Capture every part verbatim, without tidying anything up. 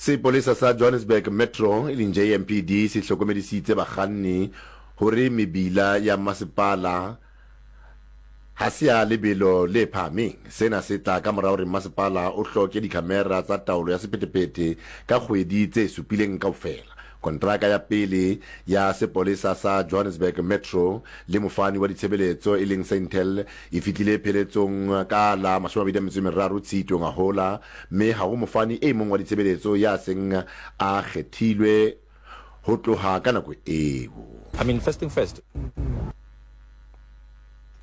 Sepolesa sa Johannesburg Metro e leng J M P D se hlokomedisitse bakganni hore mebila ya masepala ha se ya lebelo le phahameng. Sena se tla ka mora hore masepala o hloke dikhamera tsa taolo ya sephethephethe ka kgwedi tse supileng kaofela. Kontraka ya pele ya sepolesa sa Johannesburg Metro le mofani wa ditshebeletso e leng Seintel e fihlile pheletsong ka la mashome a mabedi a metso e meraro Tshitwe ngwahola, mme ha ho mofani e mong wa ditshebeletso ya seng a kgethilwe ho tloha ka nako eo. I mean, first thing first.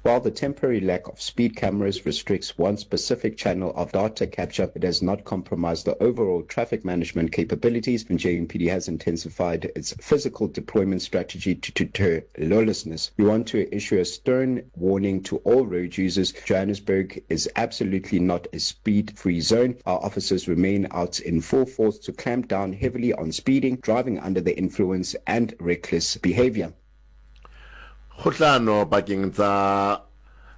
While the temporary lack of speed cameras restricts one specific channel of data capture, it does not compromise the overall traffic management capabilities, and J M P D has intensified its physical deployment strategy to deter lawlessness. We want to issue a stern warning to all road users. Johannesburg is absolutely not a speed-free zone. Our officers remain out in full force to clamp down heavily on speeding, driving under the influence, and reckless behavior. Kgohlano pakeng tsa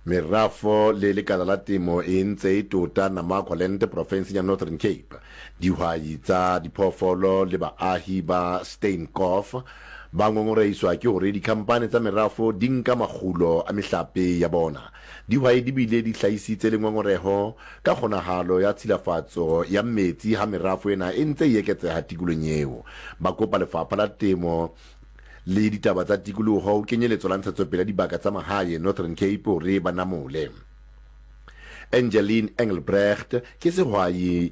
merafo le lekala la temo e ntse e tota Namaqualand profenseng ya Northern Cape. Dihwai tsa diphoofolo le baahi ba Steenkop ba ngongorehiswa ke hore dikhampani tsa merafo di nka makgulo a mehlape ya bona. Dihwai di bile di hlahisitse le ngongoreho ka kgonahalo ya tshilafatso ya metsi ha merafo ena e ntse e eketseha tikolong eo. Ba kopa lefapha la temo le ditaba tsa tikoloho ho kenyeletso la ntshetsopele ya dibaka tsa mahae Northern Cape hore ba namole. Angeline Engelbrecht ke sehwai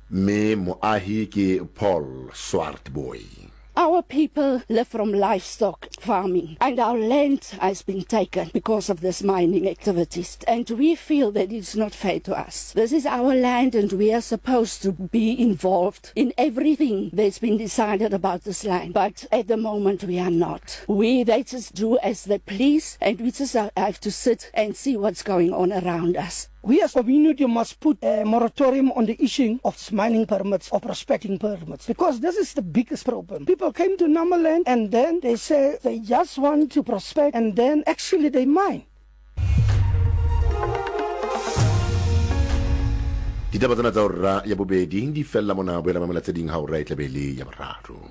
mme moahi ke Paul Swartboy. Our people live from livestock farming, and our land has been taken because of this mining activities, and we feel that it's not fair to us. This is our land, and we are supposed to be involved in everything that's been decided about this land, but at the moment we are not. We, they just do as they please, and we just have to sit and see what's going on around us. We as a community must put a moratorium on the issuing of mining permits or prospecting permits, because this is the biggest problem. People came to Namaland and then they say they just want to prospect, and then actually they mine. Ditaba tsena tsa hora ya bobedi di fella mona, boela mamela tse ding ha hora e tla be le ya boraro.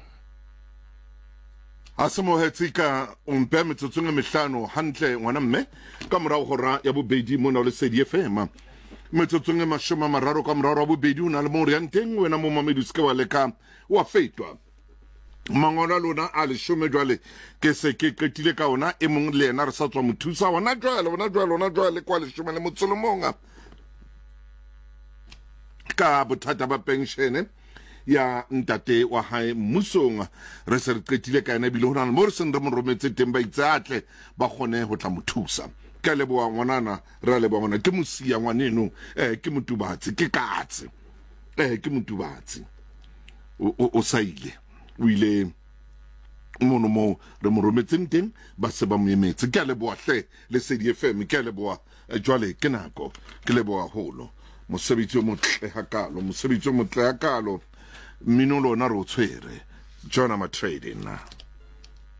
A se mohetse ka o mpe metsotsong e mehlano hantle ngwana mme ka morao hora ya bobedi mona o Lesedi F M. Metsotsong e mashome a mararo ka morao wa bobedi o na le mo re yang teng wena mo mamedi o se ke wa leka wa fetwa. Mangolo a lona a leshome jwale ke se ke qetile ka ona, e mong le yena re sa tswa mo thusa hona jwale, hona jwale, hona jwale kwa leshome le motso le mong ka bothata ba penshene ya ntate wa hae mmusong. Re se re qetile ka yena ebile ho na le mo re seng re mo rometse teng ba itse atle ba kgone ho tla mo thusa. Ke a leboha ngwanana, re a leboha ngwana, ke mosia ngwaneno, eh ke motubatsi, ke katse, eh ke motubatsi o, o, o sa ile, o ile mono moo re mo rometseng teng ba se ba mo emetse. Ke a leboha hle Lesedi F M, ke a leboha. Jwale ke nako, ke leboha haholo. Mosebetsi o motle hakalo, mosebetsi o motle hakalo. Mmino lona re o tshwere. John Ama Trading.